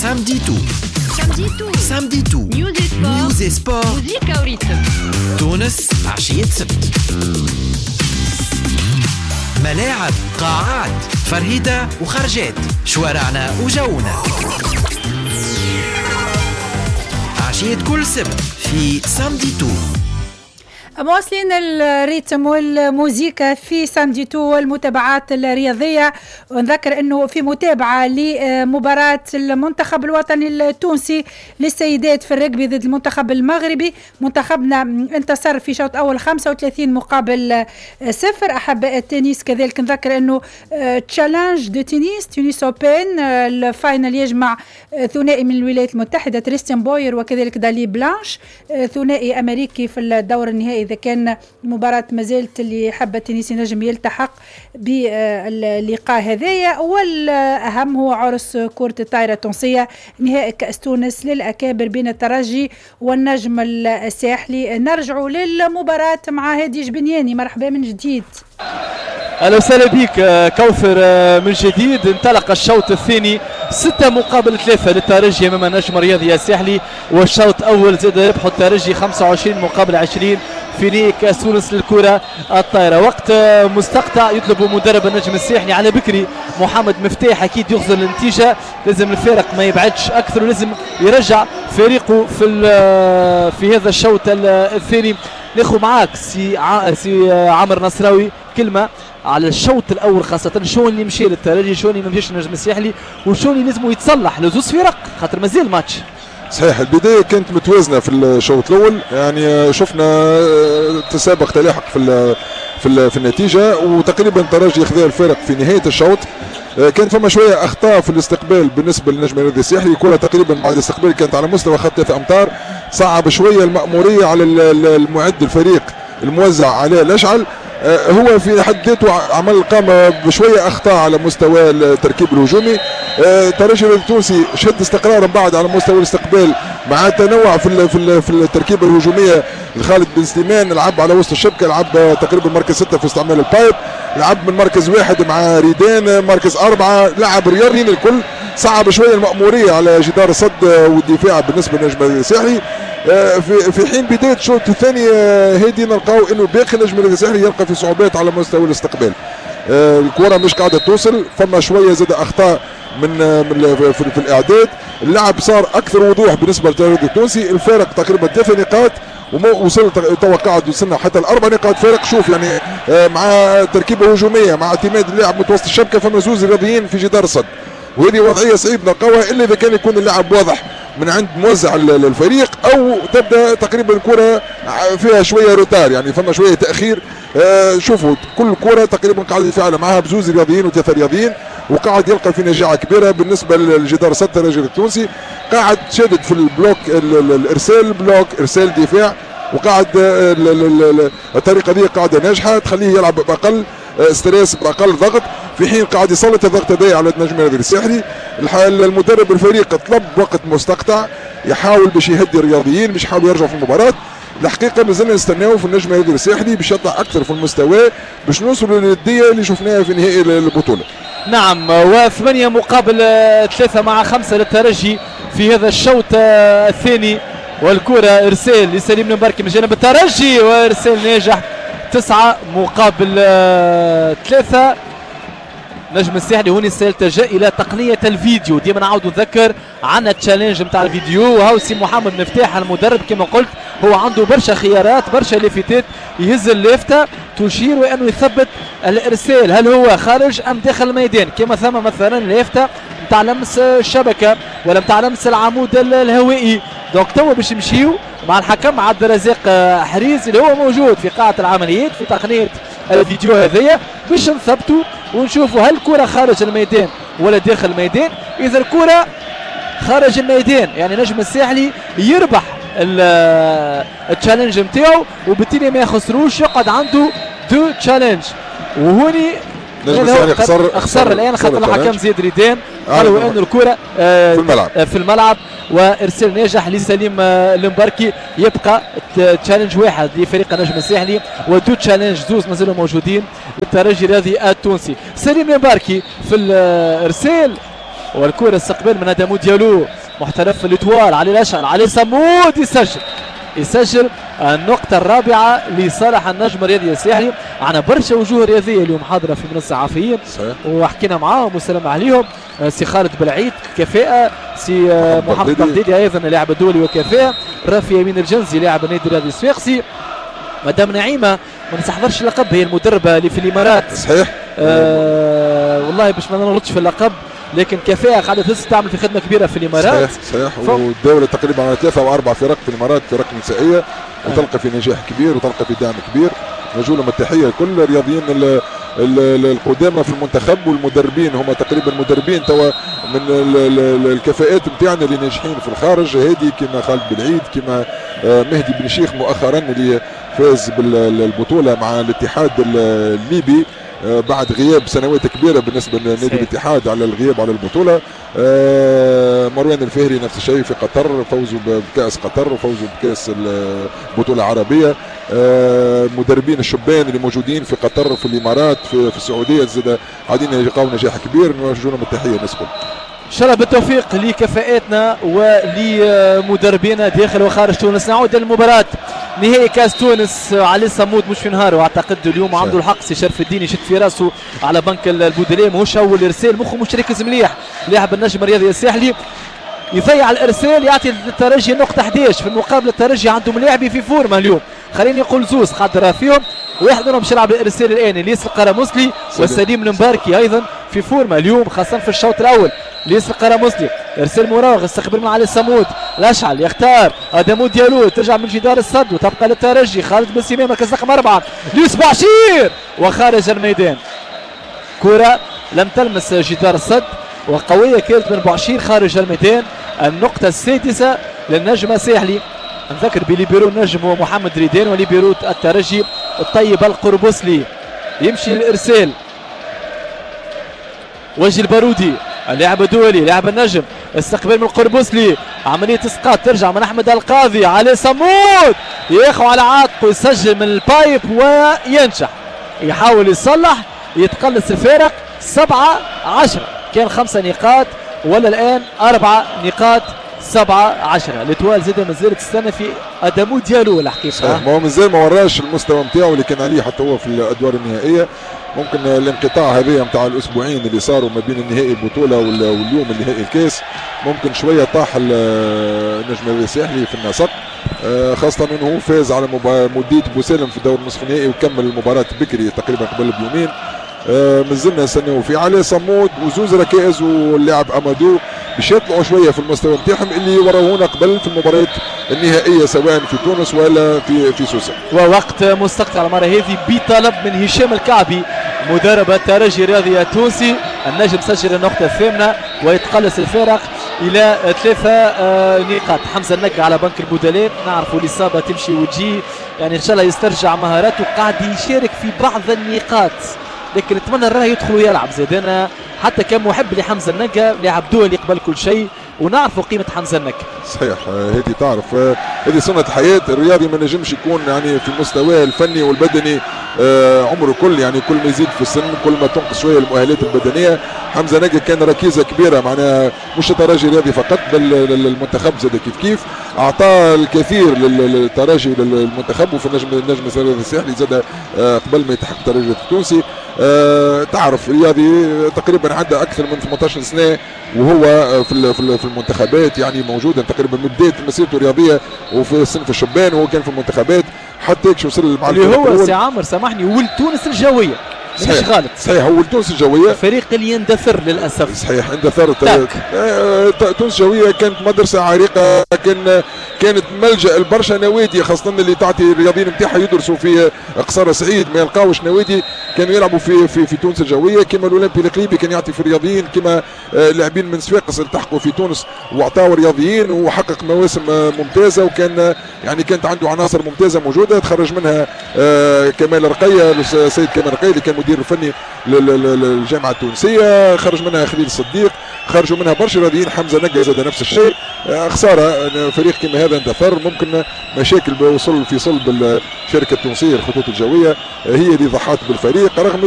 Samedi tout، Samedi tout، Samedi tout، news sport، news sport، موزيكا و rythme. تونس عشية سبت، ملاعب، قاعات، فرهيدة وخرجات، شوارعنا وجونا. عشية كل سبت في Samedi tout. مواصلين ال rythme والموزيكا في Samedi tout والمتابعات الرياضية. ونذكر أنه في متابعة لمباراة المنتخب الوطني التونسي للسيدات في الرجبي ضد المنتخب المغربي. منتخبنا انتصر في شوط أول 35-0. أحباء التنس كذلك نذكر أنه Challenge de Tunis، Tunis Open، ال finale يجمع ثنائي من الولايات المتحدة تريستيان بوير وكذلك دالي بلانش، ثنائي أمريكي في الدور النهائي. إذا كان المباراة مازالت، اللي حب التنس ينجم يلتحق باللقاء هذايا. والأهم هو عرس كرة الطائرة التونسية، نهائي كأس تونس للأكابر بين الترجي والنجم الساحلي. نرجع للمباراة مع هادي جبنياني، مرحبا من جديد. اهلا وسهلا بك كوثر من جديد. انطلق الشوط الثاني 6-3 للترجي امام النجم الرياضي الساحلي، والشوط الاول زاد ربحوا الترجي 25-20 في نهائي كاس تونس للكرة الطائرة. وقت مستقطع يطلب مدرب النجم الساحلي على بكري محمد مفتاح، اكيد يغزر النتيجة، لازم الفارق ما يبعدش اكثر ولازم يرجع فريقه في هذا الشوط الثاني. ناخذ معاك سي عمر نصراوي كلمة على الشوط الاول، خاصة شو اللي مشى للترجي، شو اللي ما مشاش للنجم الساحلي، وشو اللي لازم يتصلح لزوز فرق خاطر مازال ماتش. صحيح البداية كانت متوازنة في الشوط الاول، يعني شفنا تسابق تلاحق في النتيجة، وتقريبا الترجي خذا الفارق في نهاية الشوط. كان فما شوية اخطاء في الاستقبال بالنسبة للنجم الرياضي الساحلي، الكره تقريبا بعد الاستقبال كانت على مستوى خط 3 امتار، صعب شوية المأموريه على المعد الفريق الموزع عليه الاشعل. هو في حد ذاته عمل قام بشوية اخطاء على مستوى التركيب الهجومي. الترجي التونسي شد استقرارا بعد على مستوى الاستقبال مع تنوع في التركيبة الهجومية. خالد بن سليمان لعب على وسط الشبكة، لعب تقريبا مركز 6 في استعمال ال pipe، لعب من مركز 1 مع ريدان، مركز 4 لعب رياضيين الكل. صعب شوية المأموريه على جدار الصد والدفاع بالنسبة للنجم الساحلي. في حين بداية الشوط الثاني هادي نلقاو انه باقي النجم الساحلي يلقى في صعوبات على مستوى الاستقبال. الكره مش قاعدة توصل، فما شوية زاد اخطاء من من في الاعداد. اللعب صار اكثر وضوح بالنسبة للترجي التونسي، الفارق تقريبا 3 نقاط وما وصل توا قاعد وصلنا حتى ل4 نقاط فارق. شوف يعني مع تركيبه هجومية مع اعتماد اللاعب متوسط الشبكة، فما زوز رياضيين في جدار الصد، وهذه وضعية صعيب نلقاوها الا اذا كان يكون اللاعب واضح من عند موزع الفريق، او تبدا تقريبا الكره فيها شوية retard، يعني فما شوية تاخير. شوفوا كل كره تقريبا قاعد يتفاعل معها بزوز رياضيين وثلاثة رياضيين، وقاعد يلقى في نجاعه كبيرة بالنسبة للجدار الصد. الترجي التونسي قاعد شادد في ال bloc، الارسال bloc، ارسال دفاع، وقاعد الطريقة دي قاعدة ناجحة تخليه يلعب باقل stress باقل ضغط، في حين قاعد يسلط الضغط هذا على النجم الرياضي الساحلي. المدرب الفريق طلب وقت مستقطع يحاول باش يهدي الرياضيين، باش يحاولوا يرجعوا في المباراة. الحقيقة مازلنا نستناو في النجم الرياضي الساحلي باش يطلع اكثر في المستوى باش نوصلوا للنديه اللي شفناها في نهائي البطولة. نعم، و8-3 مع 5 للترجي في هذا الشوط الثاني. والكره ارسال لسليم المباركي من جانب الترجي، وارسال ناجح 9-3. نجم الساحلي هوني سيلتجأ الى تقنية الفيديو، ديما نعاود نذكر عندنا challenge نتاع الفيديو. وهاو سي محمد مفتاح المدرب كما قلت هو عنده برشا خيارات، برشا لافتات، يهز اللافتة تشير وانه يثبت الارسال هل هو خارج ام داخل الميدان، كما ثم مثلا لافته نتاع لمس الشبكة ولا نتاع لمس العمود الهوائي. donc توا باش نمشيو مع الحكم عبد الرزاق حريز اللي هو موجود في قاعة العمليات في تقنية الفيديو هذيا باش نثبتوا ونشوفوا هل الكره خارج الميدان ولا داخل الميدان. اذا الكره خارج الميدان يعني نجم الساحلي يربح ال challenge نتاعو وبالتالي ما يخسروش، يقعد عنده deux challenges. وهوني نجم الساحلي خسر الان خاطر الحكم زياد ريدان قالوا انه الكره في الملعب، وارسال ناجح لسليم المباركي. يبقى challenge واحد لفريق النجم الساحلي و deux challenges زوز مازالوا موجودين للترجي الرياضي التونسي. سليم المباركي في الارسال والكره استقبال من ادمو ديالو. محترف في l'Étoile. علي الاشعل، علي صمود يسجل النقطة الرابعة لصالح النجم الرياضي الساحلي. عندنا برشا وجوه رياضية اليوم حاضرة في منصة الصحفيين وحكينا معاهم والسلام عليهم. سي خالد بالعيد كفاءة، سي محمد بغدادي أيضا لاعب الدولي وكفاءة، رافي يمين الجنزي لاعب النادي الرياضي الصفاقسي، مدام نعيمة ما نستحضرش اللقب هي المدربة اللي في الإمارات. صحيح. والله باش ما نغلطش في اللقب، لكن كفاءة قاعدة تعمل في خدمة كبيرة في الإمارات. صحيح صحيح. والدولة تقريبا على 3 أو 4 فرق في الإمارات، فرق نسائية، وتلقى في نجاح كبير وتلقى في دعم كبير. نرجو لهم التحية كل الرياضيين القدامى في المنتخب والمدربين، هم تقريبا مدربين توا من الكفاءات نتاعنا اللي ناجحين في الخارج، هادي كما خالد بالعيد، كما مهدي بن شيخ مؤخرا اللي فاز بالبطولة مع الاتحاد الليبي بعد غياب سنوات كبيرة بالنسبة لنادي الاتحاد على الغياب على البطولة. مروان الفهري نفس الشيء في قطر، فوزوا بكاس قطر وفوزوا بكاس البطولة العربية. المدربين الشبان اللي موجودين في قطر، في الامارات، في السعودية، زاد قاعدين يلقاو نجاح كبير. نرجو لهم التحية الناس الكل. ان شاء الله بالتوفيق لكفاءاتنا ولمدربينا داخل وخارج تونس. نعود للمباراة نهائي كاس تونس. علي صمود مش في نهاره، واعتقد اليوم عنده الحق سي شرف الدين يشد في راسه على بنك البودليه، ماهوش اول ارسال، مخه مش راكز مليح. لاعب النجم الرياضي الساحلي يضيع الارسال، يعطي للترجي نقطة 11. في المقابل الترجي عنده ملاعبي في فورمه اليوم، خليني نقول زوز خاطر فيهم، واحد منهم باش يلعب الارسال الان الياس القرموسلي وسليم المباركي ايضا في فورمه اليوم خاصة في الشوط الاول. الياس القرموسلي ارسال مراوغ، استقبل من علي الصمود، الاشعل يختار ادمو ديالو، ترجع من جدار الصد وتبقى للترجي. خالد بن سليمان مركز رقم 4، يوسف عشير وخارج الميدان. كرة لم تلمس جدار الصد وقوية كانت من بعشير خارج الميدان. النقطة السادسة للنجم الساحلي. نذكر بليبيرو النجم هو محمد ريدان، وليبيرو الترجي الطيب القربوسلي. يمشي الارسال وجه البارودي اللاعب الدولي لاعب النجم، استقبال من القربوسلي، عملية اسقاط ترجع من احمد القاضي. علي صمود ياخذ على عاتقه، يسجل من ال pipe وينجح، يحاول يصلح، يتقلص الفارق 7-10. كان 5 نقاط ولا الان 4 نقاط، 7-10. l'Étoile زاد مازالت تستنى في ادمو ديالو الحقيقة. ما هو مازال ما وراش المستوى نتاعو اللي كان عليه حتى هو في الادوار النهائية. ممكن الانقطاع هذا نتاع الاسبوعين اللي صاروا ما بين النهائي البطولة واليوم النهائي الكاس، ممكن شوية طاح النجم الساحلي في النسق، خاصة انه فاز على مولوديه بوسالم في دور النصف النهائي وكمل المباراة بكري تقريبا قبل بيومين. مازلنا نستناو في علي صمود وزوز ركائز واللاعب امادو باش يطلعوا شوية في المستوى نتاعهم اللي وروهونا قبل في المباريات النهائية سواء في تونس ولا في سوسة. ووقت مستقطع المرة هذه بطلب من هشام الكعبي مدرب الترجي الرياضي التونسي. النجم سجل النقطة الثامنة ويتقلص الفارق الى 3 نقاط. حمزة النقع على بنك البودلاء، نعرفوا الاصابة تمشي وتجي، يعني ان شاء الله يسترجع مهاراته، قاعد يشارك في بعض النقاط، لكن نتمنى راه يدخل ويلعب زاد. انا حتى كمحب لحمزة النقا، لاعب دولي قبل كل شيء، ونعرفوا قيمة حمزة النقا. صحيح، هذه تعرف هذه سنة الحياة، الرياضي ما نجمش يكون يعني في مستواه الفني والبدني عمره كل، يعني كل ما يزيد في السن كل ما تنقص شوية المؤهلات البدنية. حمزة نقا كان ركيزة كبيرة، معناها مش الترجي الرياضي فقط بل المنتخب زاد كيف كيف، اعطى الكثير للترجي وللمنتخب وفي النجم الساحلي زاد قبل ما يتحق الترجي التونسي. تعرف رياضي تقريبا عنده اكثر من 18 سنة وهو في المنتخبات، يعني موجودا تقريبا من بداية مسيرته الرياضية وفي صنف الشبان وهو كان في المنتخبات حتى وصل مع اللي هو سي عامر سامحني ولد تونس الجوية. مش غلط. صحيح، هو تونس الجوية الفريق اللي يندثر للاسف. صحيح اندثر. تونس الجوية كانت مدرسه عريقة، كانت ملجا البرشا نوادي، خاصة اللي تعطي الرياضيين نتاعها يدرسوا في قصر سعيد ما يلقاوش نوادي، كانوا يلعبوا في في في تونس الجوية. كما الاولمبي القليبي كان يعطي في الرياضيين، كما لاعبين من صفاقس التحقوا في تونس واعطاوا رياضيين وحقق مواسم ممتازة، وكان يعني كانت عنده عناصر ممتازة موجودة تخرج منها كمال رقيه، السيد كمال رقيه اللي كان مدير الفني للجامعة التونسية، خرج منها خليل الصديق، خرجوا منها برشا رياضيين، حمزة نقا زاد نفس الشيء. خسارة فريق كما هذا اندثر، ممكن مشاكل وصل في صلب الشركة التونسية الخطوط الجوية هي اللي ضحت بالفريق رغم اللي